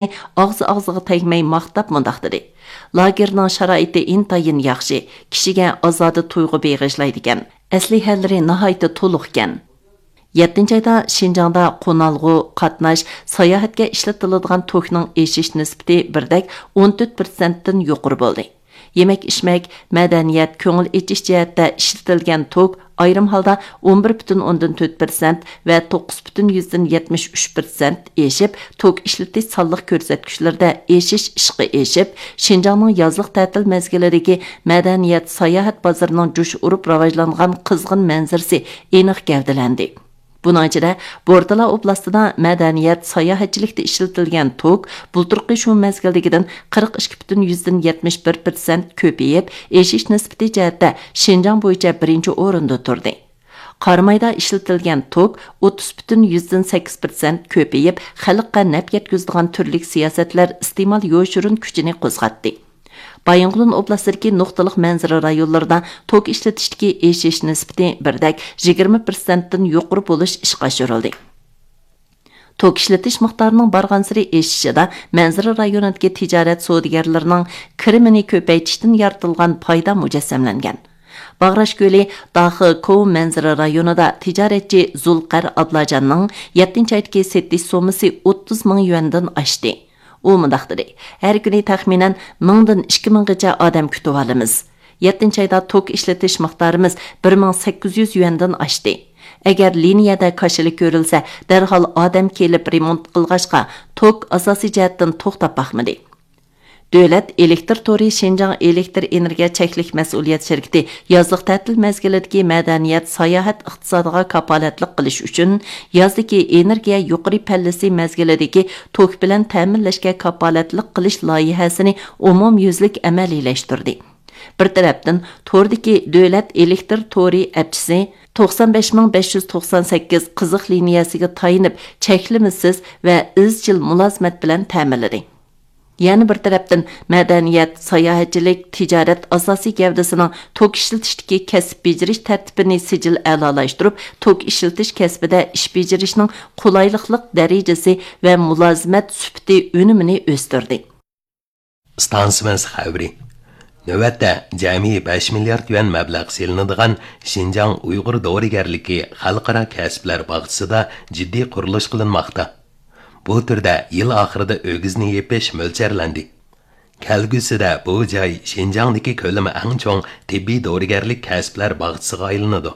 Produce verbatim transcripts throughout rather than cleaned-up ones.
ئاغزى ئاغزىغا تەگمەي ماختاپ مۇنداق دېدى: «لاگېرنىڭ شارائىتى ئىنتايىن ياخشى، كىشىگە ئازادە تۇيغۇ بېغىشلايدىكەن. ئەسلىھەلىرى ناھايىتى تولۇقكەن.» يەتتىنچى ئايدا شىنجاڭدا قونالغۇ، قاتناش، ساياھەتكە ئىشلىتىلىدىغان توكنىڭ ئېشىش نىسبىتى بىردەك ئون تۆت پىرسەنتتىن يۇقىرى بولدى. يېمەك-ئىچمەك، مەدەنىيەت، كۆڭۈل ئېچىش جەھەتتە ئىشلىتىلگەن توك ئايرىم ھالدا ئون بىر پۈتۈن ئوندىن تۆت پىرسەنت ۋە توققۇز پۈتۈن يۈزدىن يەتمىش ئۈچ پىرسەنت ئېشىپ، توك ئىشلىتىش سانلىق كۆرسەتكۈچلىرىدە ئېشىش ئىشقا ئېشىپ، شىنجاڭنىڭ يازلىق تەتىل مەزگىلىدىكى مەدەنىيەت، ساياھەت بازىرىنىڭ جۇش ئۇرۇپ راۋاجلانغان قىزغىن مەنزىرىسى ئېنىق گەۋدىلەندى. بۇنىڭ ئىچىدە، بورتالا ئوبلاستىدا مەدەنىيەت، ساياھەتچىلىكتە ئىشلىتىلگەن توك بۇلتۇرقى شۇ مەزگىلدىكىدىن قىرىق ئىككى پۈتۈن يۈزدىن يەتمىش بىر پىرسەنت كۆپىيىپ، ئېشىش نىسبىتى جەھەتتە شىنجاڭ بويىچە بىرىنچى ئورۇندا تۇردى. قارامايدا ئىشلىتىلگەن توك ئوتتۇز پۈتۈن يۈزدىن سەككىز پىرسەنت كۆپىيىپ، خەلققە نەپ يەتكۈزىدىغان تۈرلۈك سىياسەتلەر ئىستېمال يوشۇرۇن كۈچىنى قوزغاتتى. بايىنغولىن ئوبلاستىدىكى نۇقتىلىق مەنزىرە رايونلىرىدا توك ئىشلىتىشتىكى ئېشىش نىسبىتى بىردەك يىگىرمە پىرسەنتتىن يۇقىرى بولۇش ئىشقا ئاشۇرۇلدى. توك ئىشلىتىش مىقدارىنىڭ بارغانسېرى ئېشىشىدا مەنزىرە رايونىدىكى تىجارەت سودىگەرلىرىنىڭ كىرىمىنى كۆپەيتىشتىن يارىتىلغان پايدا مۇجەسسەملەنگەن. باغراش كۆلى داخې كوۋ مەنزىرە رايونىدا تىجارەتچى زۇلقەر ئابلاجاننىڭ يەتتىنچى ئايدىكى سېتىش سوممىسى ئوتتۇز مىڭ يۈەندىن ئاشتى. ئۇ مۇنداق دېدى: «ھەر كۈنى تەخمىنەن مىڭدىن ئىككى مىڭغىچە ئادەم كۈتۈۋالىمىز. يەتتىنچى ئايدا توك ئىشلىتىش مىقدارىمىز بىر مىڭ سەككىز يۈز يۈەندىن ئاشتى. ئەگەر لىنىيەدە كاشىلا كۆرۈلسە، دەرھال ئادەم كېلىپ رېمونت قىلغاچقا، توك ئاساسىي جەھەتتىن توختاپ باقمىدى.» دۆلەت ئېلېكتىر تورى شىنجاڭ ئېلېكتىر ئېنېرگىيە چەكلىك مەسئۇلىيەت شىركىتى يازلىق تەتىل مەزگىلىدىكى مەدەنىيەت، ساياھەت ئىقتىسادىغا كاپالەتلىك قىلىش ئۈچۈن يازدىكى ئېنېرگىيە يۇقىرى پەللىسى مەزگىلىدىكى توك بىلەن تەمىنلەشكە كاپالەتلىك قىلىش لايىھەسىنى ئومۇميۈزلۈك ئەمەلىيلەشتۈردى. بىر تەرەپتىن، توردىكى دۆلەت ئېلېكتىر تورى ئەپچىسى توقسان بەش مىڭ بەش يۈز توقسان سەككىز قىزىق لىنىيەسىگە تايىنىپ، چەكلىمىسىز ۋە ئىزچىل مۇلازىمەت بىلەن تەمىنلىدى. يەنە بىر تەرەپتىن، مەدەنىيەت، ساياھەتچىلىك، تىجارەت ئاساسىي گەۋدىسىنىڭ توك ئىشلىتىشتىكى كەسىپ بېجىرىش تەرتىپىنى سىجىل ئەلالاشتۇرۇپ، توك ئىشلىتىش كەسپىدە ئىش بېجىرىشنىڭ قولايلىقلىق دەرىجىسى ۋە مۇلازىمەت سۈپىتى ئۈنۈمىنى ئۆستۈردى. ئىستانسىمىز خەۋىرى. نۆۋەتتە جەمئىي بەش مىليارد يۈەن مەبلەغ سېلىنىدىغان شىنجاڭ ئۇيغۇر دورىگەرلىكى خەلقئارا كەسىپلەر باغچىسىدا جىددىي قۇرۇلۇش قىلىنماقتا. بۇ تۈردە يىل ئاخىرىدا ئۆگزىنى يېپىش مۆلچەرلەندى. كەلگۈسىدە بۇ جاي شىنجاڭدىكى كۆلىمى ئەڭ چوڭ تېببىي دورىگەرلىك كەسىپلەر باغچىسىغا ئايلىنىدۇ.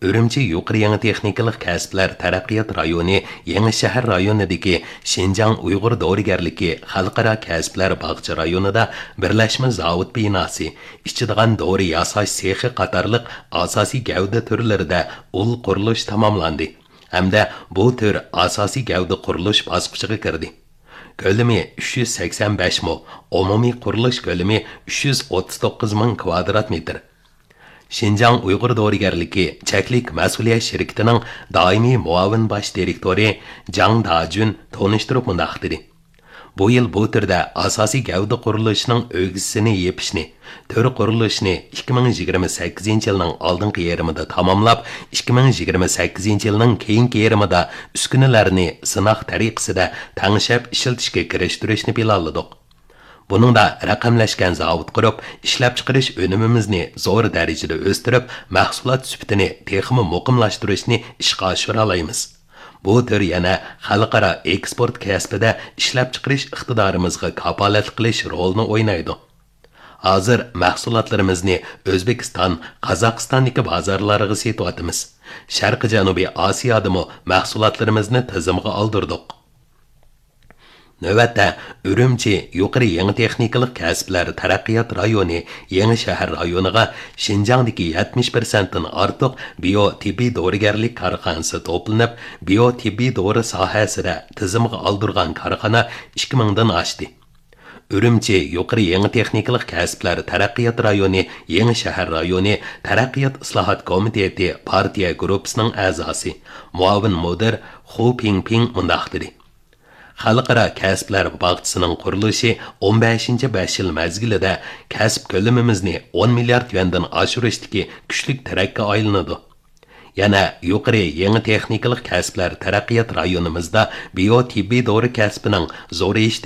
ئۈرۈمچى يۇقىرى يېڭى تېخنىكىلىق كەسىپلەر تەرەققىيات رايونى يېڭى شەھەر رايونىدىكى شىنجاڭ ئۇيغۇر دورىگەرلىكى خەلقئارا كەسىپلەر باغچە رايونىدا بىرلەشمە زاۋۇت بىناسى، ئىچىدىغان دورا ياساش سېخى قاتارلىق ئاساسىي گەۋدە تۈرلىرىدە ئۇل قۇرۇلۇش تاماملاندى ھەمدە بۇ تۈر ئاساسىي گەۋدە قۇرۇلۇش باسقۇچىغا كىردى. كۆلىمى ئۈچ يۈز سەكسەن بەش مو، ئومۇمىي قۇرۇلۇش كۆلىمى ئۈچ يۈز ئوتتۇز توققۇز مىڭ كىۋادرات مېتىر. شىنجاڭ ئۇيغۇر دورىگەرلىكى چەكلىك مەسئۇلىيەت شىركىتىنىڭ دائىمىي مۇئاۋىن باش دىرېكتورى جاڭ داجۈن تونۇشتۇرۇپ مۇنداق دېدى: بۇ يىل بۇ تۈردە ئاساسىي گەۋدە قۇرۇلۇشىنىڭ ئۆگزىسىنى يېپىشنى، تۈر قۇرۇلۇشىنى ئىككى مىڭ يىگىرمە سەككىزىنچى يىلنىڭ ئالدىنقى يېرىمىدا تاماملاپ، ئىككى مىڭ يىگىرمە سەككىزىنچى يىلنىڭ كېيىنكى يېرىمىدا ئۈسكۈنىلەرنى سىناق تەرىقىسىدە تەڭشەپ ئىشلىتىشكە كىرىشتۈرۈشنى پىلانلىدۇق. بۇنىڭدا رەقەملەشكەن زاۋۇت قۇرۇپ، ئىشلەپچىقىرىش ئۈنۈمىمىزنى زور دەرىجىدە ئۆستۈرۈپ، مەھسۇلات سۈپىتىنى تېخىمۇ مۇقىملاشتۇرۇشنى ئىشقا ئاشۇرالايمىز. بۇ تۈر يەنە خەلقئارا ئېكسپورت كەسپىدە ئىشلەپچىقىرىش ئىقتىدارىمىزغا كاپالەتلىك قىلىش رولىنى ئوينايدۇ. ھازىر مەھسۇلاتلىرىمىزنى ئۆزبېكىستان، قازاقىستاندىكى بازارلارغا سېتىۋاتىمىز. شەرقىي جەنۇبىي ئاسىيادىمۇ مەھسۇلاتلىرىمىزنى تىزىمغا ئالدۇردۇق. نۆۋەتتە، ئۈرۈمچى يۇقىرى يېڭى تېخنىكىلىق كەسىپلەر تەرەققىيات رايونى يېڭى شەھەر رايونىغا شىنجاڭدىكى يەتمىش پىرسەنتتىن ئارتۇق بىيو تېببىي دورىگەرلىك كارخانىسى توپلىنىپ، بىيو تېببىي دورا ساھەسىدە تىزىمغا ئالدۇرغان كارخانا ئىككى مىڭدىن ئاشتى. ئۈرۈمچى يۇقىرى يېڭى تېخنىكىلىق كەسىپلەر تەرەققىيات رايونى يېڭى شەھەر رايونى تەرەققىيات ئىسلاھات كومىتېتى پارتىيە گۇرۇپپىسىنىڭ ئەزاسى، مۇئاۋىن مۇدىر خۇ پىڭپىڭ مۇنداق دېدى: خەلقئارا كەسىپلەر باغچىسىنىڭ قۇرۇلۇشى ئون بەشىنچى بەش يىل مەزگىلىدە كەسىپ كۆلىمىمىزنى ئون مىليارد يۈەندىن ئاشۇرۇشتىكى كۈچلۈك تىرەككە ئايلىنىدۇ. يەنە يۇقىرى يېڭى تېخنىكىلىق كەسىپلەر تەرەققىيات رايونىمىزدا بىيو تېببىي دورا كەسپىنىڭ زورىيىشتىن